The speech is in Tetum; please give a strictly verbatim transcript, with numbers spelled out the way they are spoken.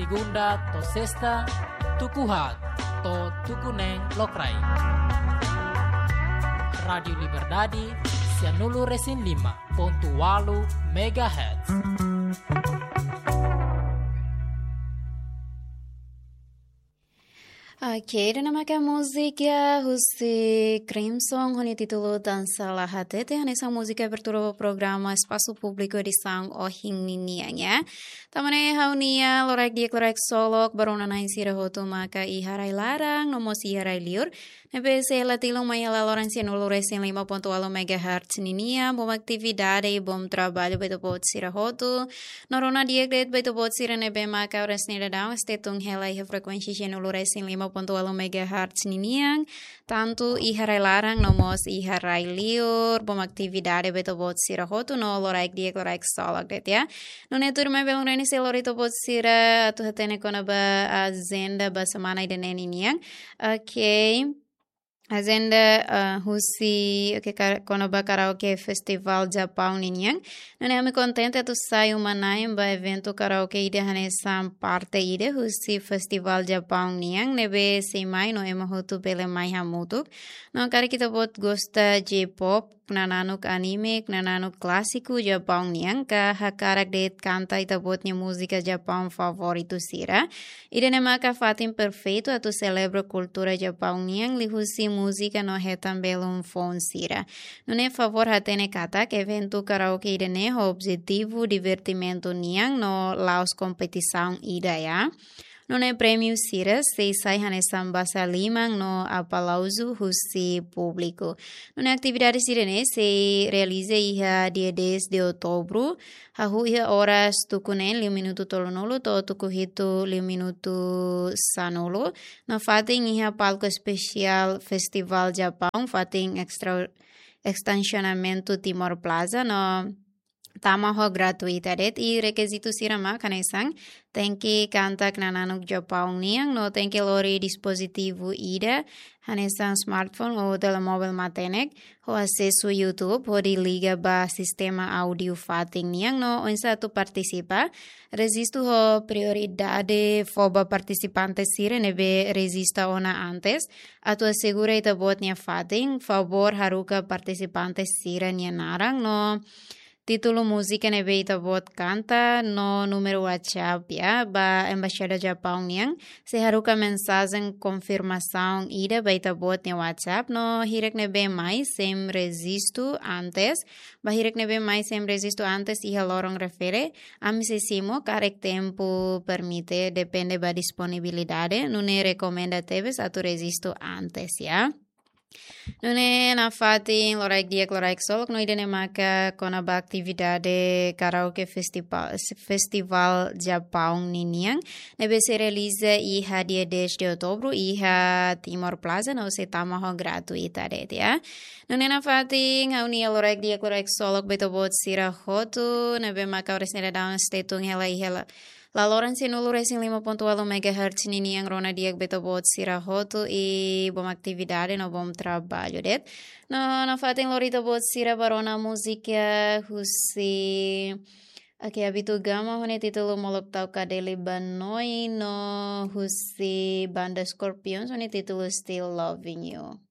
Segunda to'o sesta, tuku haat to'o tuku neen lokraik. Rádiu Liberdade, sia nulu-resin-lima pontu ualu megahertz. Oke, ida-ne'e maka múzika husi Crimson ho nia títulu Dansa La Hatete, hanesan múzika abertura ba programa Espasu Públiku edisaun ohin ninian, ya. Tanba ne'e ha'u-nia loraik di'ak loraik solok ba rona-na'in sira hotu maka iha rai-laran no mós iha rai-liur ne'ebé sei hela tilun mai iha laloran sia nulu-resin-lima pontu ualu megahertz ninian, boot ba atividade, boot ba traballu ba ita-boot sira hotu. No rona di'ak de'it ba ita-boot sira ne'ebé maka oras ne'e daudaun sei tun hela iha frekuénsia sia nulu-resin-lima pontu ualu megahertz ninian, tantu iha rai-laran no mós iha rai-liur, boot ba atividade ba ita-boot sira hotu no loraik di'ak loraik solok de'it, ya. Nune'e tuirmai belun reni sei lori ita-boot sira atu hatene kona-ba ajenda ba semana ida-ne'e ninian. Oke. Ajenda, eh, husi, oke, kar-, kona-ba Karaoke Festival Japaun ninian. Nune'e ami kontente atu sai uma-na'in ba eventu karaoke ida hanesan parte ida husi Festival Japaun nian, ne'ebé sei mai no ema hotu bele mai hamutuk. No karik ita-boot gosta J-pop, knananuk anime, knananuk klásiku Japaun nian, ka hakarak de'it kanta ita-boot nia múzika Japaun favoritu sira, ida-ne'e maka fatin perfeitu atu selebra kultura Japaun nian liuhusi múzika no hetan belun foun sira. Nune'e favór hatene katak eventu karaoke ida-ne'e ho objetivu divertimentu nian no la'ós kompetisaun ida, ya. Nune'e prémiu sira sei sai hanesan basa liman no aplauzu husi públiku. Nune'e atividade sira-ne'e sei realiza iha dia dez de outubro, hahú iha oras tuku neen liu minutu tolunulu to'o tuku hitu liu minutu sanulu. No fatin iha palku espesiál Festival Japaun, fatin extra-, estasionamentu Timor Plaza, no tama ho gratuita de'it. I rekizitu sira mak hanesan tenke kanta knananuk Japaun nian no tenke lori dispozitivu ida hanesan smartphone ou telemóvel matenek ho asesu YouTube hodi liga ba sistema áudiu fatin nian no oinsá atu partisipa. Rejistu ho prioridade fó ba partisipante sira ne'ebé rejista ona antes. Atu asegura ita-boot nia fatin, favór haruka partisipante sira-nia naran no títulu múzika ne'ebé ita-boot kanta no númeru WhatsApp, ya, ba Embaixada Japaun nian. Sei haruka mensajen konfirmasaun ida ba ita-boot nia WhatsApp no hirak ne'ebé mai sem rejistu antes. Ba hirak ne'ebé mai sem rejistu antes iha loron refere, ami sei simu karik tempu permite, depende ba disponibilidade, nune'e rekomenda tebes atu rejistu antes, ya. Nune'e nafatin loraik di'ak loraik solok no ida-ne'e maka kona-ba atividade karaoke festival, festival Japaun ninian ne'ebé sei realiza iha dia dez de outubro iha Timor Plaza no sei tama ho gratuita de'it, ya. Nune'e nafatin ha'u-nia loraik di'ak loraik solok ba ita-boot sira hotu ne'ebé maka oras ne'e daudaun sei tun hela iha la-, laloran sia nulu-resin-lima pontu ualu megahertz ninian, rona di'ak ba ita-boot sira hotu i boot ba atividade no boot ba traballu de'it. No nafatin lori ita-boot sira ba rona múzika husi, oke, Abito Gama ho nia títulu Molok Tau Kadeli Ba Noi no husi banda Scorpions ho nia títulu Still Loving You.